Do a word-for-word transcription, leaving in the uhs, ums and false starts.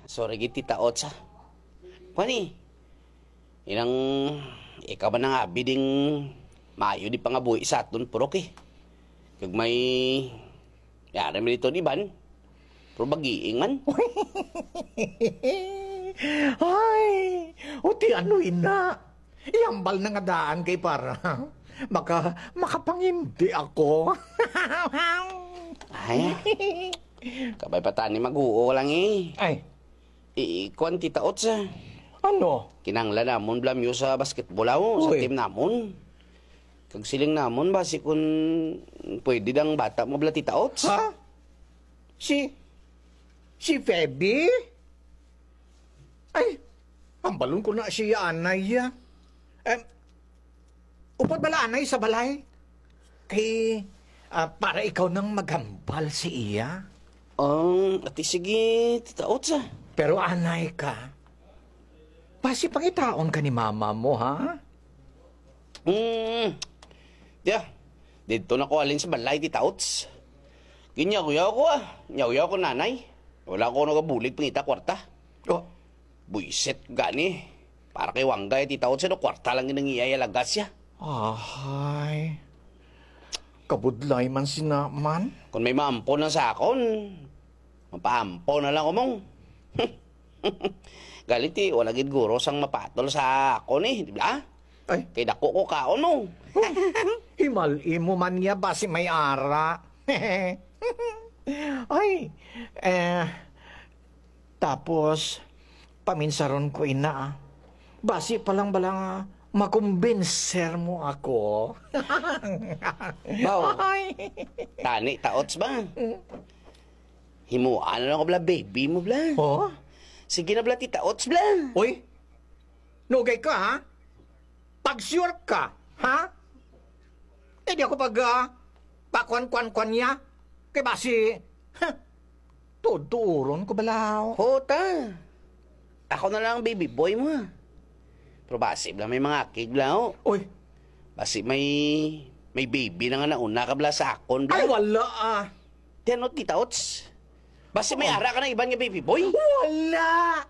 Sorry gid, Tita Ots, ha. Kuan, eh. Inang ikaw man ang abi ding maayo di pangabuhi sa aton, purok, eh. Kag may yari man dito, di ban? Pero bagiing man. Ay, uti ano ina? Ihambal na nga daan kay para maka-, makapangindi ako. Ay, kabay pa tani mag-uo lang, eh. Ay. I-, kuwan, Tita Ots, ah. Ano? Kinahanglan namon bala mo sa basketball, aw, sa Uy. Team namon. Kag siling namon, basi kun pwede dang bata mo bala, Tita Ots. Ha? Si, si Feby? Ay, hambalon ko na siya, anay, ah. Em, upod bala, anay, sa balay? Kay, ah, para ikaw nang maghambal sa iya. Um, ati sige, Tita Ots, ah. Pero anay ka, basi pangitaon ka ni mama mo, ha? Hmm. Diya, dito na ko halin sa balay, Tita Ots. Ginyawyaw ko, ah. Nyawyaw ko, nanay. Wala ko nagabulig pangita kwarta. Oh. Buisit gani. Para kay Wanggay, Tita Ots, ano, kwarta lang ginang iya, iya lagas ya. Ahay. Kabudlay man sina man. Kung may maampo na sa akon, mapaampo na lang, umong. Galit, eh, wala gid guro sang mapatol sa akon, eh, di ba? Ay. Kay dako ko kaon, no? Himal-i mo man niya, basi may ara. Ay, eh, tapos, paminsaron ko ina, ah. Basi pa lang bala nga makumbinser mo ako. Baw. Ay. Tani, Tita Ots ba? Mm. Himuan na lang ko bala, baby mo bala. Oh? Sige na bala, Tita Ots bala. Uy, nugay ka, ha? Pag-sure ka, ha? Eh, di ako pag, ah, pakuan-kuan-kuan niya. Kay basi, ha? Tuod-tuoron ko bala. Ho, ta. Ako na lang ang baby boy mo, ha? Pero basi bala may mga akig bala, ho. Uy. Basi may, may baby na nga nauna ka bala sa akon, bala. Ay, wala, ah. Di ano, Tita Ots? Basi may Oh. ara ka na iban nga baby boy? Wala.